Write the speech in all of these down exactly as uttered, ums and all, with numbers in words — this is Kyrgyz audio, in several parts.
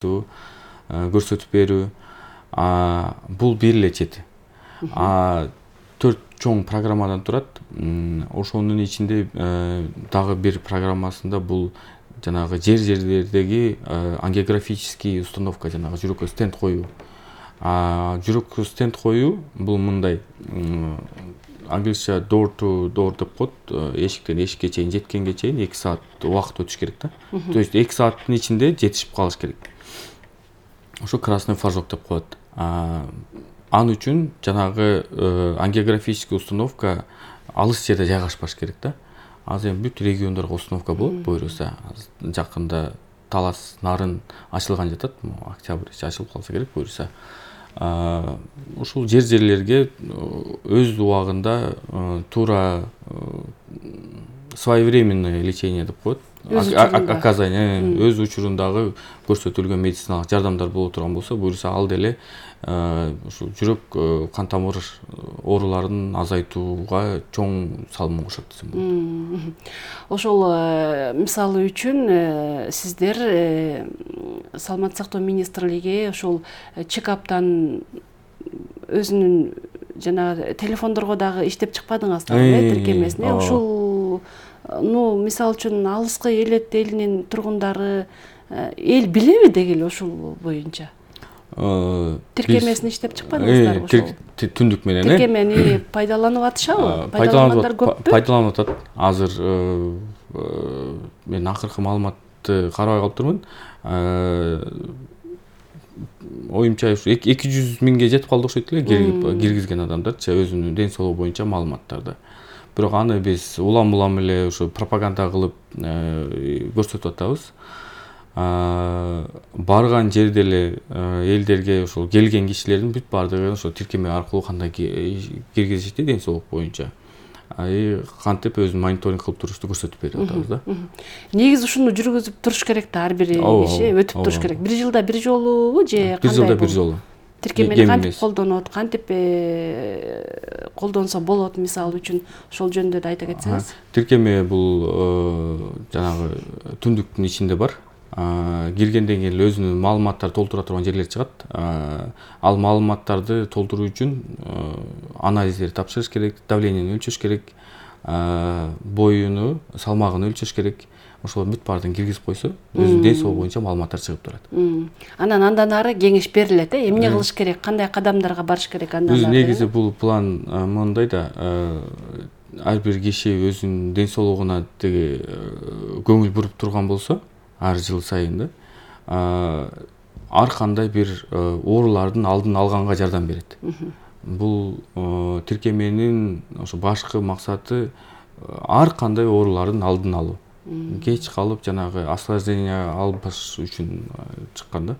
көрсөтүп берүү. Бул бир эле чети. Төрт чоң программадан турат. Ошонун ичинде дагы бир программасында бул жанагы жер жерлердеги ангиографический установка, жанагы жүрөккө стенд коюу. Жүрөккө стенд коюу бул мындай, англисча door to door деп коет. Эшиктен эшикке чейин жеткенге чейин эки саат убакыт өтүш керек да. То есть эки сааттын ичинде жетишип калыш керек. Ошо красный флажок деп коет. Ал үчүн жанагы ангиографический установка алыс жерде жайгашпаш керек да. Азыр эми бүт региондорго установка болот, буюрса. Жакында Талас, Нарын ачылган жатат. Октябрь ачылып калса керек, буюрса. Ушул жер жерлерге өз убагында туура своевременное лечение деп коет. Оказание өз учурундагы көрсөтүлгөн медициналык жардамдар боло турган болсо, буюрса ал деле ушул жүрөк кан тамыр ооруларын азайтууга чоң салым кошот десем болот. Ошол мисалы үчүн сиздер Саламаттык сактоо министрлиги ошол чекаптан өзүнүн жана телефондорго дагы иштеп чыкпадыңыздар, э, тиркемесин. Ушул ну мисалы үчүн алыскы эл элинин тургундары эл билеби деги эле ушул боюнча? Тиркемесин иштеп чыкпадыңыздарбы ошол? Түндүк менен, э? Тиркемени пайдаланып атышабы? Пайдалангандар көппү? Пайдаланып атат. Азыр мен акыркы маалыматты карабай калыптырмын. Оюмча эки жүз миңге жетип калды окшойт эле киргизген адамдарчы өзүнүн ден соолугу боюнча маалыматтарды. Бирок аны биз улам-улам эле ошо пропаганда кылып көрсөтүп атабыз. Барган жерде эле элдерге ошол келген кишилердин бүт баардыгы ошо тиркеме аркылуу кандай киргизишти ден соолук боюнча. Ай кантип өзүн мониторинг кылып турушту көрсөтүп берип атабыз да. Негизи ушуну жүргүзүп туруш керек да, ар бир киши өтүп туруш керек. Бир жылда бир жолубу же кандай? Бир жылда бир жолу. Тиркемени кантип колдонот, кантип колдонсо болот мисалы үчүн ошол жөнүндө да айта кетсеңиз. Тиркеме бул жанагы түндүктүн ичинде бар. Киргенден кийин өзүнүн маалыматтарды толтура турган жерлер чыгат. Ал маалыматтарды толтуруу үчүн анализдерди тапшырыш керек, давлениени өлчөш керек, боюну, салмагын өлчөш керек. Ошол бүт баардыгын киргизип койсо, өзүнүн ден соолугу боюнча маалыматтар чыгып турат. Анан андан ары кеңеш берилет, э? Эмне кылыш керек, кандай кадамдарга барыш керек андан ары? Өзү негизи бул план мындай да, ар бир киши өзүнүн ден соолугуна теги көңүл буруп турган болсо, ар жыл сайын да, ар кандай бир оорулардын алдын алганга жардам берет. Бул тиркеменин ошо башкы максаты ар кандай оорулардын алдын алуу. Кеч калып жанагы осложнение албаш үчүн чыккан да.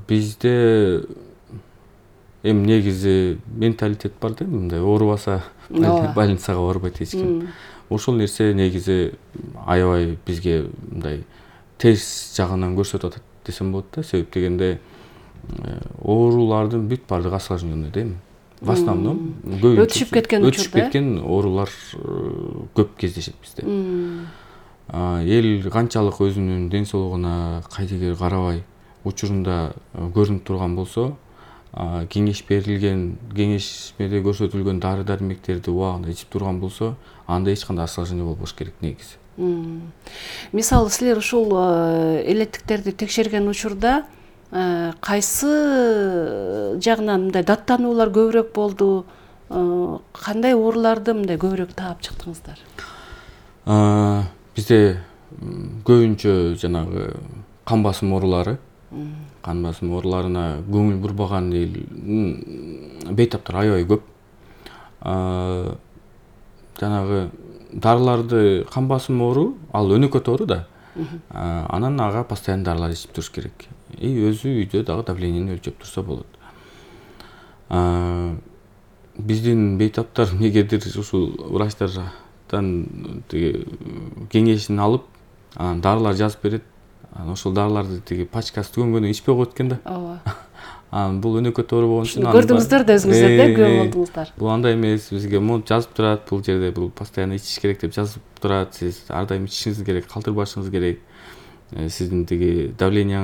Бизде эми негизи менталитет бар да, мындай оорубаса больницага барбайт эч ким. Ошол нерсе негизи аябай бизге мындай терс жагынан көрсөтүп атат десем болот да. Себеп дегенде оорулардын бүт баардыгы осложненный да эми. В основном өтүшүп кеткен учурда, өтүшүп кеткен оорулар көп кездешет бизде. Эл канчалык өзүнүн ден соолугуна кайдыгер карабай учурунда көрүнүп турган болсо, кеңеш берилген, кеңешмеде көрсөтүлгөн дары-дармектерди убагында ичип турган болсо, анда эч кандай осложнение болбош керек негизи. Мисалы силер ушул элеттиктерди текшерген учурда кайсы жагынан мындай даттануулар көбүрөөк болду? Кандай ооруларды мындай көбүрөөк таап чыктыңыздар? Бизде көбүнчө жанагы кан басым оорулары, кан басым ооруларына көңүл бурбаган эл бейтаптар аябай көп. Жанагы дарыларды, кан басым оору, ал өнөкөт оору да. Анан ага постоянно дарылар ичип туруш керек. И өзү үйдө дагы давлениени өлчөп турса болот. Биздин бейтаптар негедир ушул врачтардан кеңешин алып, анан дарылар жазып берет. Анан ошол дарыларды тиги пачкасы түгөнгөндөн ичпей коет экен да. Ооба. Анан бул өнөкөт оору болгон үчүн көрдүңүздөр да өзүңүздөр да күбө болдуңуздар. Бул андай эмес, бизге монт жазып турат, бул жерде бул постоянно ичиш керек деп жазып турат. Сиз ар дайым ичишиңиз керек, калтырбашыңыз керек. Сиздин тиги давление